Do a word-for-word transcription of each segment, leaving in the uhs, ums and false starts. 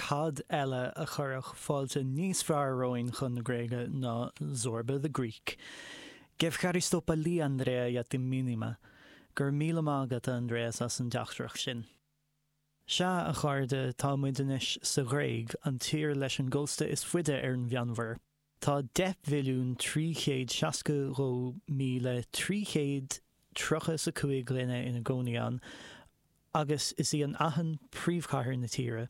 Cad eile a chuirfeadh fáilte níos fearr romhainn chun na Gréige ná Zorba the Greek? Και ευχαριστώ πολύ, Andrea, για το μήνυμα. Go raibh míle maith agat, Andreas, as an dteachtaireacht sin. Sea, a chairde, tá muid anois sa Ghréig, an tír leis an gcósta is faide ar an Mheánmhuir. Tá deich milliún trí chéad seasca dhó míle trí chéad tríocha is a cúig dhuine ina gcónaí ann, agus is í an Aithin príomhchathair na tíre.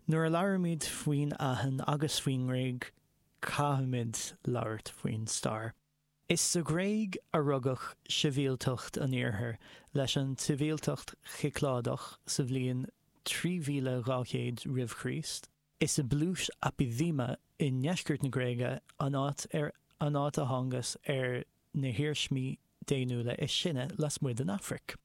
Nuair a labhraímid faoin Aithin agus faoin nGréig, caithfimid labhairt faoin stair. Is sa Ghréig a rugadh sibhialtacht an Iarthair leis an tsibhialtacht Chicleádach sa bhliain trí mhíle dhá chéad roimh Chríost. Is i bpluais Apidima i ndeisceart na Gréige an áit ar an áit a thángthas ar na hiarsmaí daonnúla is sine lasmuigh den Afraic.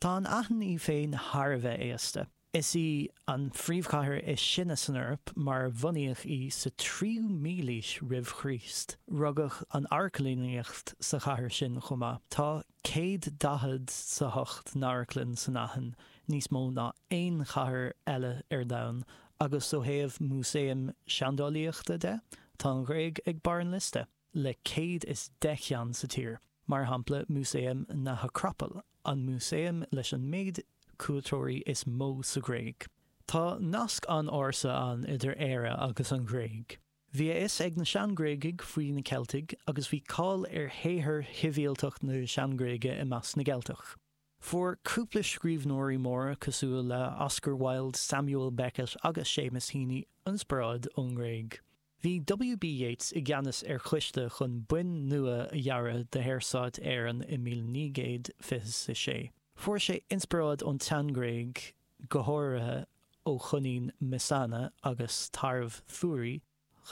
Tá an Aithin í féin thar a bheith aosta. Is í an phríomhchathair is sine san Eoraip mar bunaíodh í sa tríú mílaois roimh Chríost. Rugadh an amharclannaíocht sa chathair sin chomh maith. Tá céad daichead 's a hocht n-amharclann san Aithin, níos mó ná aon chathair eile ar domhan, agus ó thaobh músaeim seandálaíochta de, tá an Ghréig ag barr an liosta, le céad is deich cheann sa tír. Mar shampla, Músaem na hAcrapaill, an músaem leis an méid cuairteoirí is mó sa Ghréig. Tá nasc an-ársa ann idir Éire agus an Ghréig. Bhí a fhios ag na sean-Ghréagaigh faoi na Ceiltigh agus bhí cáil ar shaothar shibhialtacht na sean-Ghréige i measc na gCeilteach. Fuair cúpla scríbhneoirí móra cosúil le Oscar Wilde, Samuel Beckett agus Seamus Heaney inspioráid ón nGréig. Bhí W B Yeats i gceannas ar choiste chun boinn nua a dhearadh do Shaorstát Éireann i míle naoi gcéad fiche a sé. Fuair sé inspioráid ón tSean-Ghréig, go háirithe ó choinín Messana agus tarbh Thurí,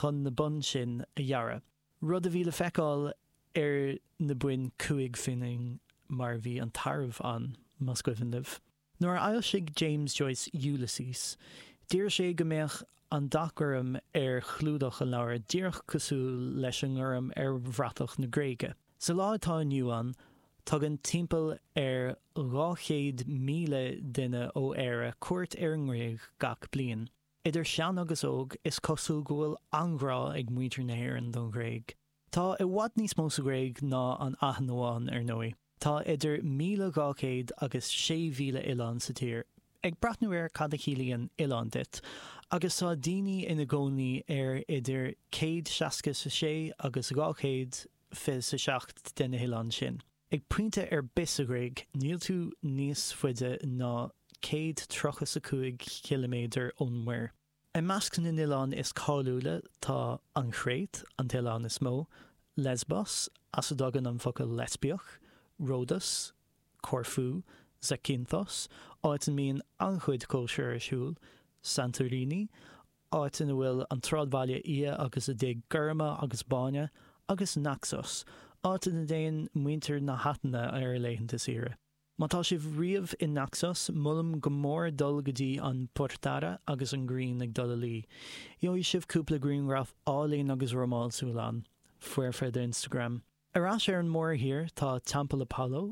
chun na boinn sin a dhearadh, rud a bhí le feiceáil ar na boinn cúig phingin mar bhí an tarbh ann, más cuimhin libh. Nuair a fhoilsigh James Joyce Ulysses, d'iarr sé go mbeadh an dath gorm ar chlúdach an leabhair díreach cosúil leis an ngorm ar bhratach na Gréige. Sa lá atá inniu ann, tugann timpeall ar dhá chéad míle duine ó Éire cuairt ar an nGréig gach bliain. Idir shean agus óg, is cosúil go bhfuil an-ghrá ag muintir na hÉireann don Ghréig. Tá i bhfad níos mó sa Ghréig ná an Aithin amháin, ar ndóigh. Tá idir míle dhá chéad agus sé mhíle oileán sa tír, ag breathnú ar cad a chiallaíonn oileán duit, agus tá daoine ina gcónaí ar idir céad seasca is a sé agus dhá chéad fiche is a seacht de na hoileáin sin. Ag pointe ar bith sa Ghréig, níl tú níos faide ná céad tríocha is a cúig chiliméadar ón muir. I measc na n-oileán is cáiliúla tá an Chréit, an t-oileán is mó, Lesbos, as a dtagann an focal leispiach, Ródas, Corfú, Zakynthos, áit a mbíonn an-chuid cóisir ar siúl, Santorini, áit ina bhfuil an tsráidbhaile Oia agus a dtithe gorma agus bána, agus Naxos, áit ina dtéann muintir na hAtaine ar a laethanta saoire. Má tá sibh riamh i Naxos, molaim go mór dul go dtí an Portara agus an ghrian ag dul a luí. Gheobhaidh sibh cúpla grianghraf álainn agus rómánsúil ann. Foirfe d'Instagram. Ar ais ar an mórthír tá Teampall Apollo,